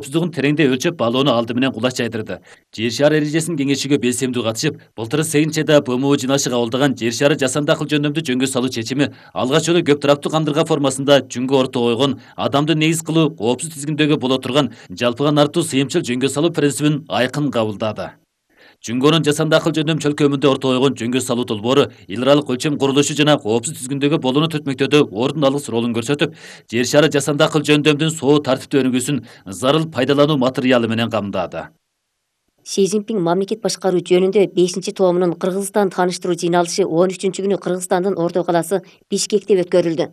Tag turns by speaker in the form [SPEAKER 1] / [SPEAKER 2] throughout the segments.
[SPEAKER 1] коопсуздугун тереңдей өлчөп баалоону алды менен кулач жайдырды. Жер шары эрежесин кеңешүүгө белсемдүү катышып, былтыр Сейнчеда БМУ жыйналышы кабылдаган жер шары жасанды акыл жөндөмдү жөнгө салуу чечими алгач жолу көп тараптуу кандырга формасында жүнгө ортого койгон адамды негиз кылуу коопсуз тизгиндөөгө боло турган жалпыга нартуу сыйымчыл жөнгө салуу принцибин айкын кабылдады. Жүнгөнүн жасанды акыл жөндөм чөлкөмүндө ортого койгон жөнгө салуу долбоору эл аралык өлчөм курулушу жана коопсуз тизгиндөөгө болууну түртмөктөөдө ордун алгыс ролун көрсөтүп, жер шары жасанды акыл жөндөмдүн соо тартиптүү өнүгүүсүн зарыл пайдалануу материалы менен камдады.
[SPEAKER 2] Си Цзиньпин мамлекет башкаруу жөнүндө 5 томунун Кыргызстан тааныштыруу жыйналышы 13-күнү Кыргызстандын Ордо каласы Бишкекте өткөрүлдү.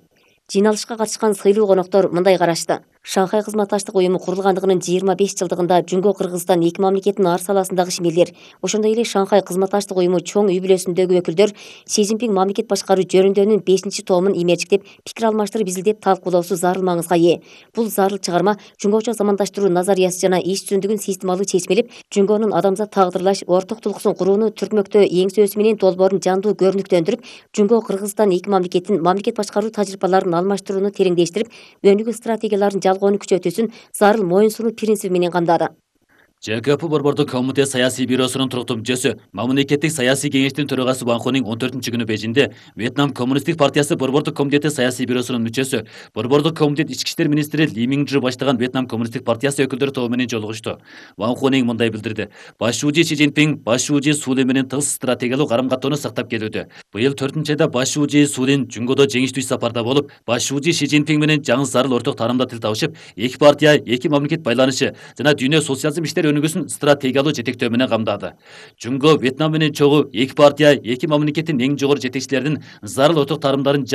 [SPEAKER 2] Жыйналышка катышкан сыйлуу коноктор мындай карашты. Шанхай кызматташтык уюму курулгандыгынын 25 жылдыгында Жүнгө Кыргызстан эки мамлекеттин ар саласындагы ишмерлер, ошондой эле Шанхай кызматташтык уюму чоң үй бүлөсүндөгү өкүлдөр Си Цзиньпин мамлекет башкаруу жөнүндөнүн 5 томун имерчиктеп, пикир алмаштырып изилдеп талкуулоосу зарыл маңызга ээ. Бул зарыл чыгарма Жүнгөчө замандаштыруу назариясы жана иш жүзүндүгүн системалуу чечмелеп, Жүнгөнүн адамзат тагдырлаш орток тулкуусун курууну түртмөктөө эң сөзсү менен долбоорун жандуу көрүнүктөндүрүп, Жүнгө Кыргызстан эки мамлекеттин мамлекет башкаруу тажрыйбаларын алмаштырууну тереңдештирип, өнүгүү стратегияларын жалгоону күчөтүүсүн зарыл моюн сунуу принциби менен камдады.
[SPEAKER 1] ЖКП Борбордук комитет саясий бюросунун туруктуу мүчөсү, мамлекеттик саясий кеңештин төрагасы Ван Хунин 14-күнү Бейжиңде Вьетнам коммунисттик партиясы Борбордук комитети саясий бюросунун мүчөсү, Борбордук комитет ички иштер министри Ли Минчжу баштаган Вьетнам коммунисттик партиясы өкүлдөр тобу менен жолугушту. Ван Хунин мындай билдирди. Баш шүүжү Си Цзиньпин баш шүүжү Сулин менен тыгыз стратегиялык карым-каттоону сактап келүүдө. Быйыл 4-айда баш шүүжү Сулин Жүнгөдө жеңиштүү иш сапарда болуп, баш шүүжү Си Цзиньпин менен жаңы зарыл орток таарамда тил табышып, эки партия, эки мамлекет байланышы жана дүйнө социализм иштери өнүгүүсүн стратегиялуу жетектөө менен камдады. Жүнгө Вьетнам менен чогуу эки партия, эки мамлекеттин эң жогору жетекчилеринин зарыл орток таарымдарын